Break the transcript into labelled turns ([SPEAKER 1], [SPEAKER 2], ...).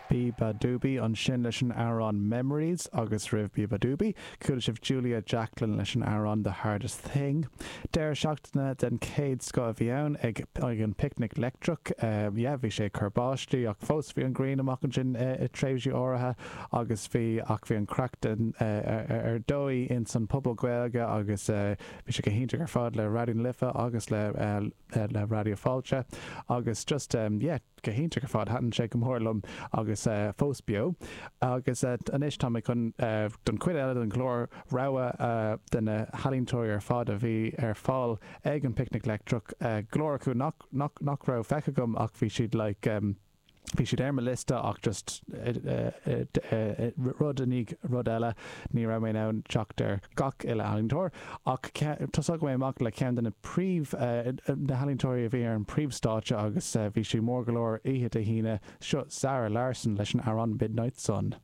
[SPEAKER 1] Beabadoobee ansin leis an amhrán Memories agus roimh Beabadoobee, chuala sibh Julia Jacklin leis an amhrán The Hardest Thing. Deireadh seachtaine den chéad scoth a bhí ann ag an bPicnic Leictreach. Yeah, bhí sé ag cur báistí ach fós bhí an ghrian amach ansin i tréimhsí áirithe agus bhí ach bhí an craic den ar dóigh ins an Phuball Gaeilge agus bhí sé go hiontach ar fad le Raidió na Life agus le le Raidió Fáilte agus just yeah go hiontach ar fad thaitin sé go mór liom agus fós beo agus anois tá mé chun don chuid eile den chlár rogha de na healaíontóirí ar fad a bhí ar fáil ag an Picnic Leictreach go leor acu nach nach nach raibh feicthe agam ach bhí siad like Bhí siad ar mo liosta ach just rud i ndiaidh rud eile ní raibh mé in ann teacht ar gach uile ealaíontóir. Ach tosóidh mé amach le ceann de na príomh, na healaíontóirí a bhí ar an príomhstáitse agus bhí sí mór go leor oíche Dé hAoine, seo Zara Larsson leis an amhrán Midnight Sun.